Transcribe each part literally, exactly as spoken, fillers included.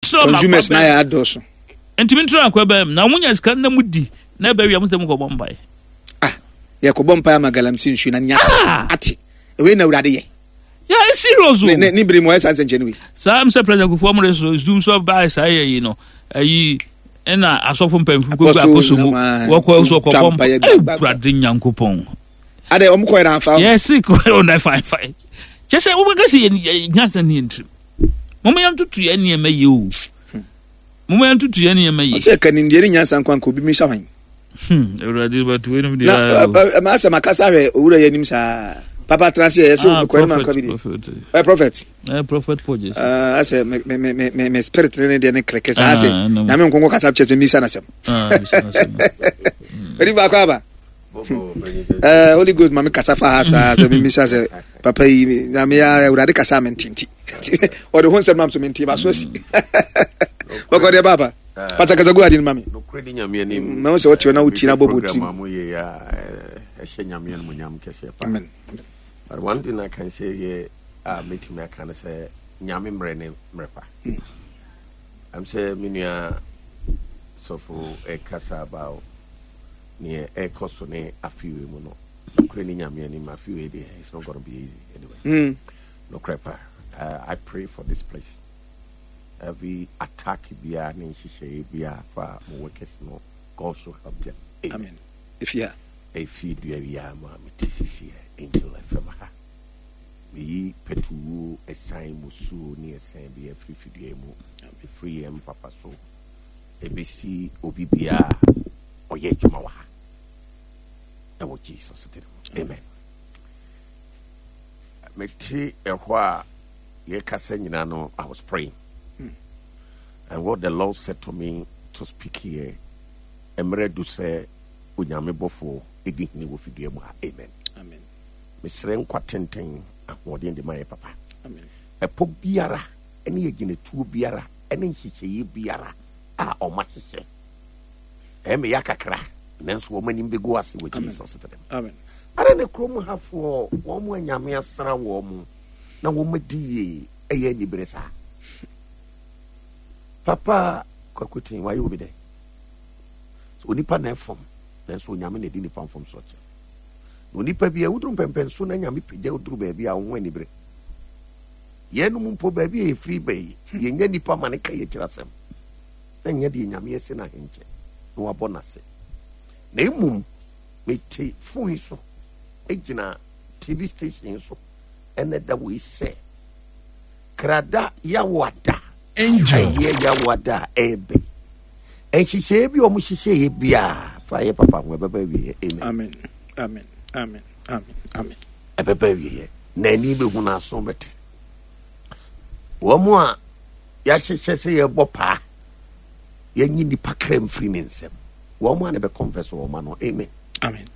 ntrɛ ma Consumers na yɛ adɔɔso. Ntumi ntrɛ akɔ bɛn na mo nya sika na mo di na ɛbɛ wia mo sɛ mo kɔ bɔ mpae. Ah, yɛkɔbɔ mpae ama galamsey nsuo na ne Ah! ate ate ɛwei na Awurade yɛ. Yeah, it's serious o. Ne ne ne bere mu ɔyɛ saa nsɛnkyɛnne wei. Saa m sɛ President Kufuor mo de so zoom so baa saa yɛ yi no, ayi ɛna asɔfo mpanyinfo kɔ gu Apostle akoso mu nam a- wɔkɔ so twa kɔbɔ mpaeɛ mpa gba- gba- gba. Awurade Nyankopɔn. Adɛ ɔmo kɔ yɛrɛ anfa. Yɛsi kɔ na fine fine kyɛ sɛ wobɛka sɛ yɛ nyansa ne yɛ ntirim. Moma yɛntoto yɛ nneɛma yie o, moma yɛntoto yɛ nneɛma yie. Ɔsɛ ka nimdeɛ ne nyansa nkwa nka obi mi hyɛ hwan. Hmm, Awurade bɛto weinom deɛ Na ayɛ o. ɛma asɛm akasa hwɛ owura yɛ anim saa papa tena se yɛ sɛ Ah, obi kɔ anim prophet, akɔ bi de. prophet. Ɔyɛ prophet. Eh, Prophet Pogye. Ah, asɛ me me me me me me spirit ne ne deɛ ne kreke saa Ah, asɛ ɛnam. Nyame nkonko kasa kyerɛ sɛ misa n'asɛm. Ah, bisa n'asɛm. Ɛdi baako aba. Eh, Holy Ghost ma me kasa fa ha saa sɛ memisa sɛ papa yi Nyame ya Awurade kasa a mententi ɔde ho nsɛm nam so mente ba so asi bɔkɔ deɛ baaba pata kasa gu ade no ma me. Nokorɛ di Nyame anim. Ma wo sɛ wote hɔ na wotie na bɔbɔ Program tirim. a moyɛ yi a eh, ɛhyɛ Nyame animuonyam kɛseɛ paa. Amen. But one thing I can say here a mɛtumi aka no sɛ Nyame mmerɛ ne mmerɛ pa. Am sɛ me nua sɔfo ɛkasa about neɛ ɛkɔ so ne afeewei mu no, nokorɛ ne Nyame anim, afeewei deɛ, it's not gonna be easy anyway. Mm. Nokorɛ pa, uh, I pray for this place. Every attack biara ne nhyehyɛeɛ biara fa mo workers no, God should help them. Amen. Ɛfie ha. Ɛfie dua biara mu a mete sisiɛ Angel F M ha, meyi pɛtuwuo ɛsan musuo ne ɛsan bi afiri fidua mu, ɛfiri yɛn papa so ɛbɛsi obi biara ɔyɛ adwuma wɔ ha ɛwɔ Jesus din mu, amen. Mete ɛhɔ a yɛkasa nyinaa no, I was praying and what the Lord said to me to speak here, mmerɛ du sɛ Onyame bɔfoɔ ɛdi hene wɔ fidua mu ha, amen. Amen. Mesrɛ nkwa tenten, ahoɔden de ma yɛ papa. Amen. Ɛpɔ biara ne agyinatuo biara ne nhyehyɛeɛ biara a ɔma hyehyɛ ɛyɛ meyɛ kakra nanso wɔn anim bɛgu ase wɔ Amen. Jesus din mu. Amen. Ara ne kurom hafoɔ wɔn mu anyame asra wɔn mu na wɔn adi yie ɛyɛ anibere saa. Papa Kwakoten wayɛ obi dɛ so onipa na ɛfam nanso Onyame na ɛdi nipa mfom so kyɛ na onipa bi a woduru mpɛmpɛnso na Nyame pagya woduru baabi a wo ho anibere. Yɛnom mpo baabi a yɛfiri ba yi, yɛnya nipa ma ne ka yɛ kyerɛ asɛm na nyɛ deɛ Nyame asi no ahenkyɛ na wabɔ n'ase. Na mmom mete phone yi so gyina T V station so ɛnɛ da wei sɛ krada yawoada. Angel. Ɛyɛ yawoada a ɛɛbɛ nhyehyɛeɛ bi a ɔmo hyehyɛeɛ biara fa yɛ papa ho ɛbɛba awieɛ, amen. Amen, amen, amen, amen, amen. Ɛbɛba awieɛ na ani bɛhu no aso bɛte wɔn mu a yɛahyehyɛ sɛ yɛbɔ paa yɛnyi nipa kra mfiri ne nsam wɔn mu a ne bɛ confess wɔn ano, amen. Amen.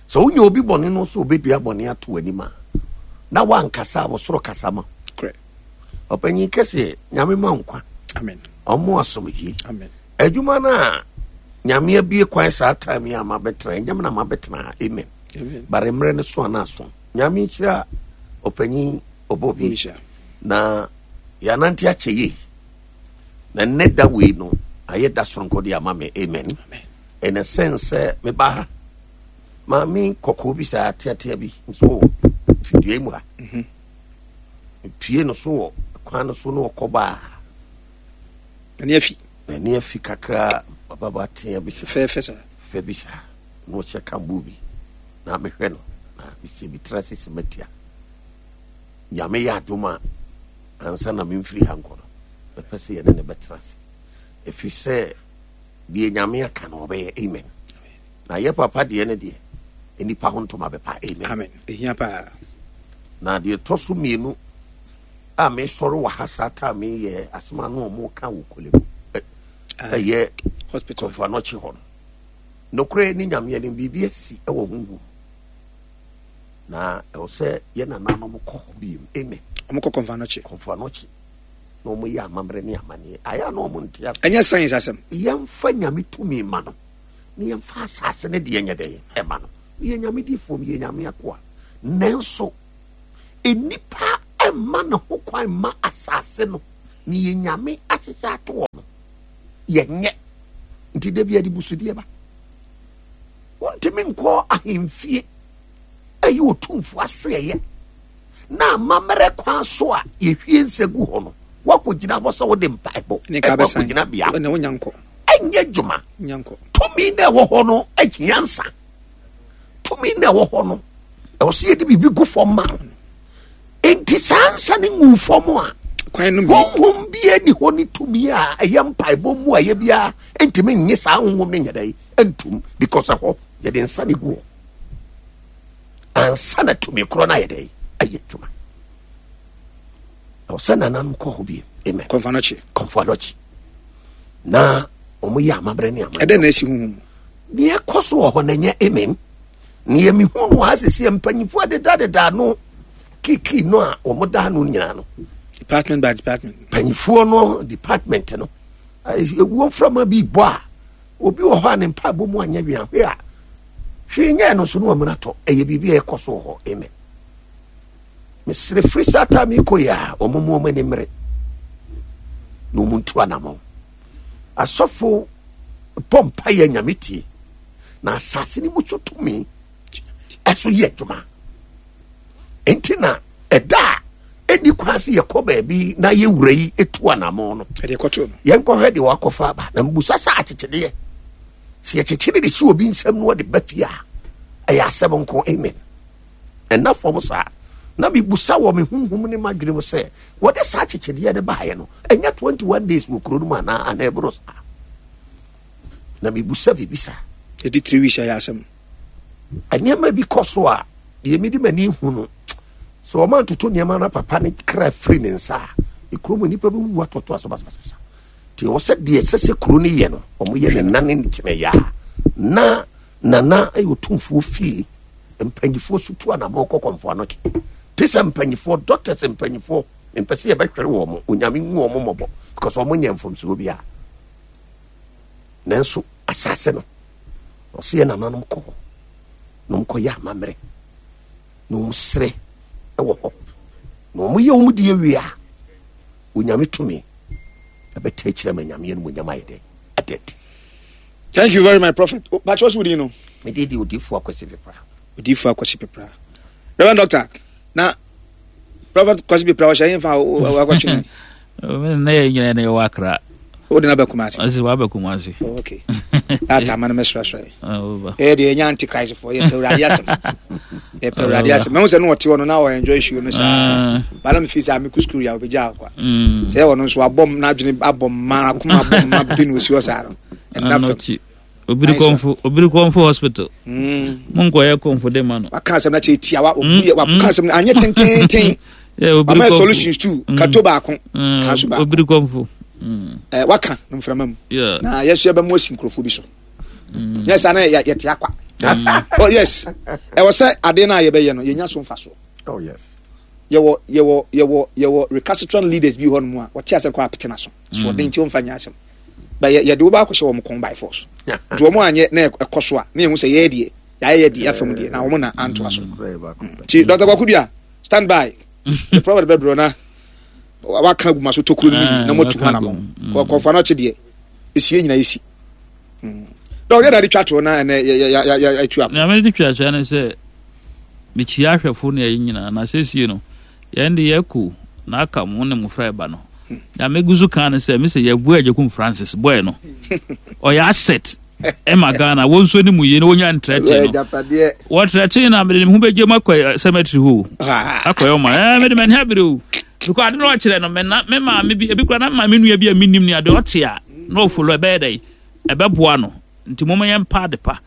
Sɛ wonya obi bɔne no so obɛdua bɔne ato anim a na wankasa a wɔsoro kasa ma. Correct. Ɔpanyin kɛseɛ, Nyame ma nkwa. Amen. Ɔmo asomdwie. Amen. Adwuma no a Nyame abie kwan saa time yi a mabɛtena ɛnyɛm na mabɛtena, amen. Amen. Bare mmerɛ no so ana aso Nyame nhyira ɔpanyin ɔbɔ bi. Nhyira. Na yɛanante akyɛ yie na nnɛ da wei no ayɛ da soronko de ama me, amen. Amen. In a sense sɛ meba ha, maame kɔkɔɔ bi saa teatea bi nso wɔ fidua mu ha. Mhm. Mepie no so wɔ kwan no so na ɔkɔ baa. N'ani afi. N'ani afi kakra, bababa tea bi. Fɛfɛɛfɛ saa. Fɛ bi saa na ɔhyɛ kambo bi na mehwɛ no na mehyɛ bi tena sisi matia. Nyame yɛ adom a ansa na memfiri ha nkɔ no, mɛpɛ sɛ yɛne ne bɛtena ase ɛfiri sɛ deɛ Nyame aka no ɔbɛyɛ, amen. Na yɛ papa deɛ ne deɛ nnipa ho ntoma bɛpa, amen. Amen, ɛhia paa. Na deɛ ɛtɔ so mmienu a mesɔre wɔ ha saa ta meyɛ asɛm a na ɔmo ka wɔ Korle Bu Ah, ɛyɛ hospital. Kɔmfo Anɔkye hɔ no, nokorɛ ne Nyame anim, biribi asi ɛwɔ honhom na ɛwɔ sɛ yɛ nananom kɔ hɔ biom, amen. Ɔmo kɔ Kɔmfo Anɔkye. Kɔmfo Anɔkye na ɔmo yɛ amammerɛ ne amanneɛ ayɛ a na ɔmo nte ase. Ɛnyɛ science asɛm. Yɛmfa Nyame tumi ma no na yɛmfa asase ne deɛ nyɛ dɛn ɛma no. Yɛ Nyame difoɔ, yɛ Nyame akoa, nanso nnipa ɛmma ne ho kwan ma asase no ne yɛ Nyame ahyehyɛ ato hɔ no. Yɛnyɛ nti da bi yɛde busudeɛ ba. Wontumi nkɔ ahemfie ɛyɛ otumfoɔ asoɛyɛ na amammerɛ kwan so a yɛhwie nsa gu hɔ no, woakɔgyina hɔ sɛ wode mpaebɔ ɛkɔ akɔgyina bea ɛnyɛ adwuma. Tumi na ɛwɔ hɔ no ahia nsa. Tumi na ɛwɔ hɔ no ɛwɔ sɛ yɛde biribi gu fam ma no. Enti saa nsa no ngu fam a, honhom biara ni hɔ ne tumi a ɛyɛ mpaebɔ mu a ɛyɛ biara ntumi nye saa honhom no nyɛ dɛ ntum, because ɛhɔ yɛde nsa no gu hɔ ansa na tumi korɔ no ayɛ dɛ ayɛ adwuma. Ɛwɔ sɛ nananom kɔ hɔ bi. Amen. Kɔmfo Anɔkye. Kɔmfo Anɔkye na wɔn yɛ amammerɛ ne amammerɛ. Ɛdɛn na esi huhu mu? Deɛ ɛkɔ so wɔ hɔ na ɛnyɛ amen. Nea mehu no ha sisi mpanyinfoɔ adedadeda ano kiki no a wɔn da ano nyinaa no. Department by department. Mpanyinfoɔ no department no ewuo nframa bi bɔ a obi wɔ hɔ a ne mpaebɔ mu anyɛ wia hwee a hwee nyɛ no so no amuna tɔ. Ɛyɛ biribi a ɛkɔ so wɔ hɔ. Amen. Mesrɛ firi saa taa mi kɔ yi a wɔn mu wɔn ani mmere na wɔn ntu anamɔ. Asɔfo bɔ mpa yɛ Nyame tie na asase no mu so tumi ɛso yɛ adwuma. Nti na ɛda a ɛni kwan sɛ yɛkɔ baabi na yɛwura yi etu anamɔ no, yɛnkɔhwɛ deɛ wakɔfa aba. Na mbusa sɛ akyekyedeɛ sɛ yɛkyekyere de si obi nsam na ɔde ba fie a ɛyɛ asɛm nko. Amen. Ɛna fam saa na mebusa wɔ me honhom ne m'adwene mu sɛ wɔde saa akyekyedeɛ no baeɛ no ɛnyɛ twenty-one days wɔ kuro no mu anaa anaa ɛboro saa. Na mebusa biribi saa. Ɛdi three weeks ayɛ asɛm. Nneɛma bi kɔ so a deɛ mede m'ani hu no sɛ ɔma ntoto nneɛma no papa ne kra firi ne nsa a ekuro mu nnipa bɛwuwu atoatoa so basabasa. Nti ɛwɔ sɛ deɛ ɛsɛ sɛ kuro no yɛ no ɔmo yɛ ne nane ne kyerɛ yɛ a na nana ɛyɛ otumfoɔ fie mpanyinfoɔ so tu anamɔ kɔ Kɔmfo Anɔkye te sɛ mpanyinfoɔ doctors mpanyinfoɔ mpɛ sɛ yɛbɛhwere wɔn mo Onyame nhu wɔn mmɔbɔ because wɔn nyɛ mfomsoɔ biara. Nanso asase no ɔsɛ yɛ nananom kɔ hɔ na wɔn kɔ yɛ amammerɛ na wɔn srɛ wɔ hɔ na wɔn yɛ wɔn deɛ wie a Onyame tumi ɛbɛtɛ akyerɛ ma Nyame no Onyame ayɛ dɛ adɛdi. Thank you very much, Prophet. But what's with you know? Me did the Odifo Akwasi Pepra. Odifo Akwasi Pepra. Reverend Doctor, na Prophet Kwasi Pepra was saying for Akwasi. Na yɛ nyina na yɛwɔ Accra. Wo de na bɛ Kumasi. Ɔsi wa bɛ Kumasi. Oh, okay. That time na mesra sra. Eh de nya antichrist for ye Awurade asɛm. Ye Awurade asɛm. Me hu sɛ no ɔte hɔ no na ɔ enjoy show no saa. Ba na me feel sɛ me ku school ya obegya akwa. Sɛ ɔno nso abɔm na adwene abɔm ma akoma abɔm ma bi no osi hɔ saa no. Ɛnna fam. Obiri kɔnfo, Obiri kɔnfo hospital. Mo nkɔ yɛ kɔnfo de ma no. Waka asɛm na kyerɛ tia wa obi waka asɛm na anyɛ tententen. Wama solutions too. Kato baako. Kanso baako. Obiri kɔnfo. Eh, waka no mframa mu. Na yɛso yɛbɛmo asi nkurɔfoɔ bi so. Nyɛ saa na yɛte akwa. Oh yes. Ɛwɔ sɛ ade no a yɛbɛyɛ no yɛnya so mfasoɔ. Oh yes. Yɛwɔ yɛwɔ yɛwɔ yɛwɔ recalcitrant leaders bi hɔ nom a wɔte asɛm kɔ apete n'aso. So ɔden nti wɔmfa nyɛ asɛm. But yɛde wo baakɔhyɛ wɔn kɔn by force. Nti wɔn anyɛ na ɛkɔ so a na yɛhu sɛ yɛyɛ deɛ yɛayɛ deɛ yɛafam deɛ na wɔn na antoa so. Nti Doctor Kwaku stand by. The prophet bɛbrɛ na waka agu ma so tokuro no mu yi na moatu ho anamɔ. Kɔfa no akyi deɛ esie nyina esi. Dɔw yɛ na de twa to na ɛnɛ yɛ yɛ yɛ yɛ atu akɔ. Nyame de twa to ne sɛ mekyia ahwɛfo ne ɛyi nyinaa na sɛsie no yɛn de yɛkɔ na aka mo ne mmofra ɛba no. Nyame gu so kan ne sɛ mesɛ yɛbu Agyekum Francis boy no ɔyɛ asset ɛma Ghana wɔn nso ne mu yie na wɔnya ntrɛte no wɔtrɛte na mede ne ho bɛgye mu akɔ cemetery hɔ akɔyɛ ɔma ɛɛ mede m'ani abere o because ade na ɔkyerɛ no me na me maame bi ebi kura na maame nua bi a menim ne ade ɔte a na ɔfolo ɛbɛyɛ dɛ ɛbɛboa no nti mo yɛn mpa ade pa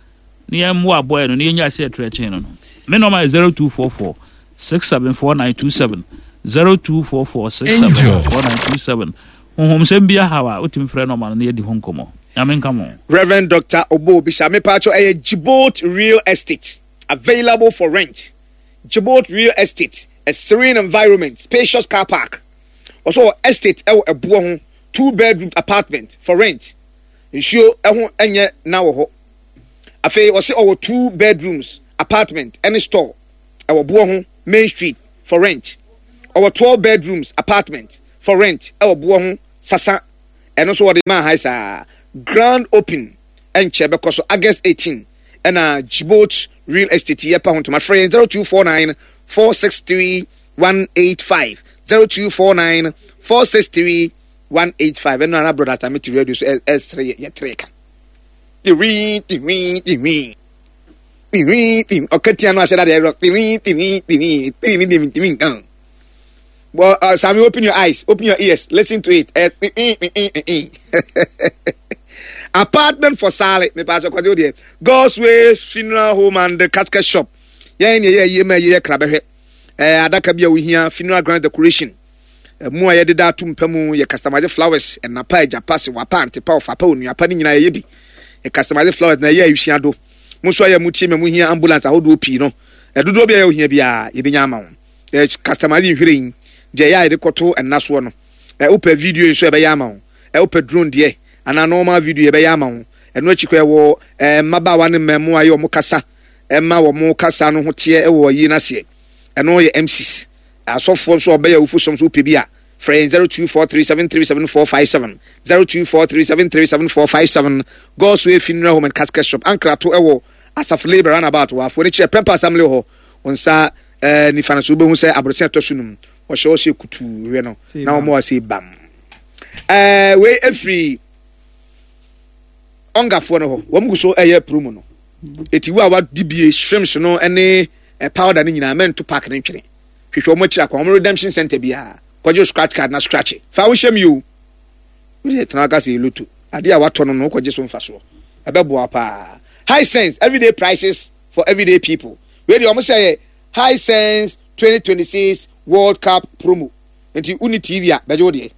ne yɛn mmoa aboa no ne yɛn nya ase ɛtrɛte no no me nɔɔma yɛ zero two four four six seven four nine two seven zero two four four six seven four nine two seven. Honhomsɛm bi ahaw a wotumi frɛ nɔɔma no na yɛdi ho nkɔmmɔ. Nyame nka mo. Reverend Doctor Obo Obisa Mepacho ɛyɛ Djibouti Real Estate available for rent. Djibouti Real Estate, a serene environment, spacious car park. Also estate ɛwɔ ɛboɔ ho, two bedroom apartment for rent. Nsuo ɛho ɛnyɛ na wɔ hɔ. Afei ɔse ɔwɔ two bedrooms apartment ɛne store ɛwɔ boɔ ho Main Street for rent. Ɔwɔ twelve bedrooms apartment for rent ɛwɔ boɔ ho Sasa. Ɛno nso wɔde maa ha saa grand open ɛnkyɛ bɛkɔ so August eighteen. Ɛna Jibot Real Estate yɛ pa ho ntoma. Frɛ yɛn zero two four nine four six three one eight five, zero two four nine four six three one eight five. Ɛno ara brother Sami ti radio so ɛsere yɛ tere ka tiwi tiwi tiwi tiwi tiwi. Ɔka tia no ahyɛ dade ɛrɔ tiwi tiwi tiwi tiwi tiwi tiwi nkan. Well, uh, Sammy, open your eyes, open your ears, listen to it. Uh, apartment for sale. Me pa kwadwo deɛ. God's Way Funeral Home and the Casket Shop. Yɛn ne yɛ yie ma yɛ kra bɛhwɛ. Ɛɛ adaka bi a wohia, funeral ground decoration. Mu a yɛde da ato mpa mu, yɛ customize flowers, ɛnapa, agyapa, sewapa, antepa, ɔfapa, onuapa ne nyinaa yɛyɛ bi. Yɛ customize flowers na yɛ ayusua do. Mo nso a yɛ mo tie ma mo hia ambulance ahodoɔ pii no. Ɛdodoɔ bi a yɛ ohia biara yɛbɛnya ama wo. Yɛ customize nhwiren deɛ yɛ a yɛde kɔto ɛna soɔ no. Ɛ wopɛ video nso, yɛbɛyɛ ama wo. Ɛ wopɛ drone deɛ anaa normal video, yɛbɛyɛ ama wo. Ɛno akyi kɔ ɛwɔ ɛɛ mmabaawa ne mmaamua a yɛ wɔn kasa ɛma wɔn kasa no ho teɛ ɛwɔ yie n'aseɛ. Ɛno yɛ M Cs. Asɔfoɔ nso a ɔbɛyɛ awufo som so, wopɛ bi a, frɛ yɛn zero two four three seven three seven four five seven, zero two four three seven three seven four five seven. God's Way Funeral Home and Casket Shop, Ankrato ɛwɔ Asafo Labour roundabout wɔ afoɔ ne kyerɛ Pɛmpa Assembly hɔ. Wɔn nsa ɛɛ nifa no so, wobɛhu sɛ aborɔkyɛn ɛtɔ so num wɔhyɛ wɔhyɛ kutuu hwɛ no na wɔn wɔ se bam. Ɛɛ wei efiri ɔngafoɔ no hɔ. Wɔn gu so ɛyɛ promo no. Eti wo a wadi bie shrimps no ɛne ɛ powder no nyinaa, mɛnto park ne ntwene. Hwehwɛ wɔn akyiri akɔ wɔn redemption center biara, kɔgye scratch card na scratch fa wo hyɛm yi o. Wode tena aka sɛ lotto adeɛ a watɔ no no wokɔgye so mfasoɔ, ɛbɛboa paa. Hisense, everyday prices for everyday people. Wei deɛ, ɔmo sɛ yɛ Hisense twenty twenty-six World Cup promo. Nti woni T V a, bɛgye wo deɛ.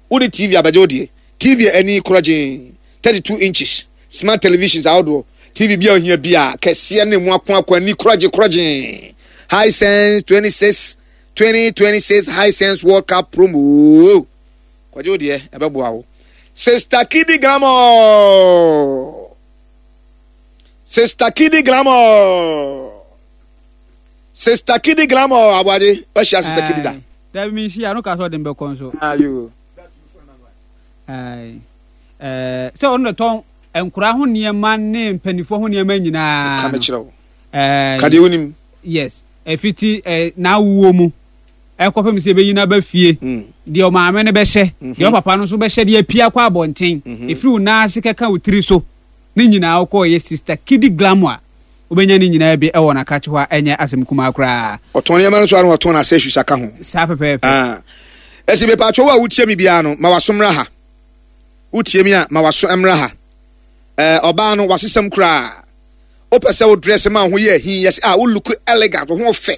Wode T V a, bɛgye wo deɛ. T V a ani korɔgyee, thirty-two inches smart televisions ahodoɔ, T V bi a ohia bi a kɛseɛ ne mu ako ako ani korɔgye korɔgyee. Hisense twenty-six twenty twenty-six Hisense World Cup promo, kɔgye wo deɛ, ɛbɛboa wo. Sister Kidi Glamour, Sister Kidi Glamour, Sister Kidi Glamour. Aboagye, wahyia Sister Kidi da? Dabi, mi nhyia no ka sɛ ɔde mbɛkɔ nso. Ayo. Ayi. Ɛɛ sɛ ɔno na tɔn nkora ho nneɛma ne mpanimfoɔ ho nneɛma nyinaa. Ka mekyerɛ wo. Ɛɛ ka deɛ wonim. Yes, ɛfiti ɛɛ n'awuo mu ɛkɔpem sɛ ɛbɛyi n'aba fie, Mm. deɛ ɔmaame no bɛhyɛ, deɛ ɔpapa no nso bɛhyɛ deɛ apia kɔ abɔnten, Mhm. ɛfiri wo nan ase kɛka wo tiri so ne nyinaa, wokɔɔ yɛ Sister Kidi Glamour a, wobɛnya ne nyinaa bi ɛwɔ n'akakye hɔ a ɛnyɛ asɛm kumaa koraa. Ɔtɔn nneɛma no so ara na ɔtɔn accessories aka ho. Saa pɛpɛɛpɛ. Ah. Ɛsi mepatwo, wo a wotie me biara no, ma waso mmra ha. Wotie mi a, ma waso mmra ha. Ɛɛ ɔbaa no wasesɛm koraa. Wopɛ sɛ wo dress ma wo ho yɛ ahi, yɛsɛ a wo look elegant, wo ho fɛ,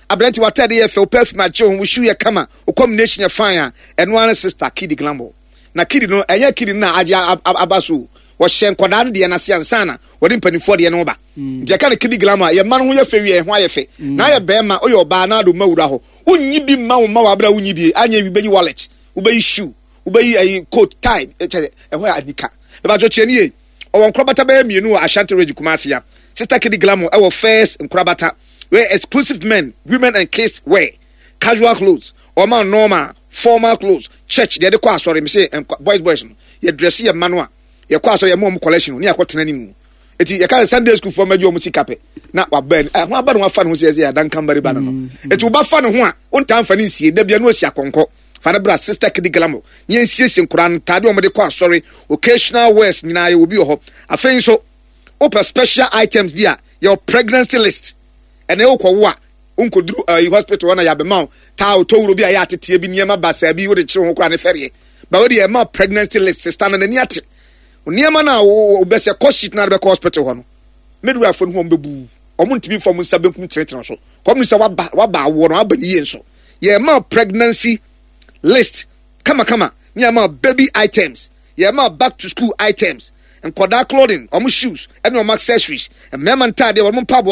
aberante, w'ataade yɛ fɛ, wo perfume agye wo ho, wo shoe yɛ kama, wo combination yɛ fine a, ɛno ara ne Sister Kidi Glamour. Na Kidi no, ɛnyɛ Kidi no na agye aba so. Wɔhyɛ nkwadaa no deɛ n'ase ansa na wɔde mpanimfoɔ deɛ no ba. Nti ɛka ne Kidi Glamour a, yɛ mma no ho yɛ fɛ wie, ɛho ayɛ fɛ na ayɛ bɛrima, woyɛ ɔbaa na ado ma wura hɔ, wonyi bi mma wo mma wɔ abere a wonyi bi anyɛ bi, bɛyi wallet, wobɛyi shoe, wobɛyi ayi coat, tie, kyɛ ɛhɔ yɛ anika. Ɛbɛtɔ kyerɛ nie, ɔwɔ nkorabata bɛyɛ mmienu wɔ Ashanti Region, Kumasi ya. Sister Kidi Glamour ɛwɔ first nkorabata where exclusive men, women and kids wear, casual clothes, ɔma normal formal clothes, church deɛ de kɔ asɔre. Mi sɛ boys boys no, yɛ dress yɛ mma no a yɛkɔ asɔre, yɛ mo ɔmo collection ne yɛakɔ tena ne mu. Eti yɛka sɛ Sunday school fɔ mɛgye ɔmo sika pɛ na waba ni ɛ ho aba ne ho afa ne ho sɛ ɛsɛ adankan bari ba no no Eti woba fa ne ho a, wontaa nfa ne nsie dabia no osi akɔnkɔ. Fa ne bra Sister Kidi Glamour ne yɛn siesie nkora no ntaade a wɔde kɔ asɔre, occasional wears nyinaa yɛ obi wɔ hɔ. Afei nso wopɛ special items bi a, yɛwɔ pregnancy list. Ɛnna ɛwɔ kɔwo a, nkoduru ɛyi hospital hɔ na yɛabɛma wo taa otowuro bi a ɛyɛ ateteɛ bi, nneɛma basaa bi wode kyerɛ ho koraa ne fɛreɛ ba. Wode ɛma pregnancy list. Sister no n'ani ate nneɛma no a wobɛsɛ kɔ sheet no a bɛkɔ hospital hɔ no, midwife no ho ɔmo bɛbu, ɔmo ntumi fɔ ɔmo nsa benkum tenetene so kɔm sɛ waba waba awoɔ no aba ne yie. Nso yɛma pregnancy list kamakama ne yɛma baby items, yɛma back to school items, nkɔdaa clothing, ɔmo shoes ɛne ɔmo accessories, mmarima ntaadeɛ, wɔn mpaboa.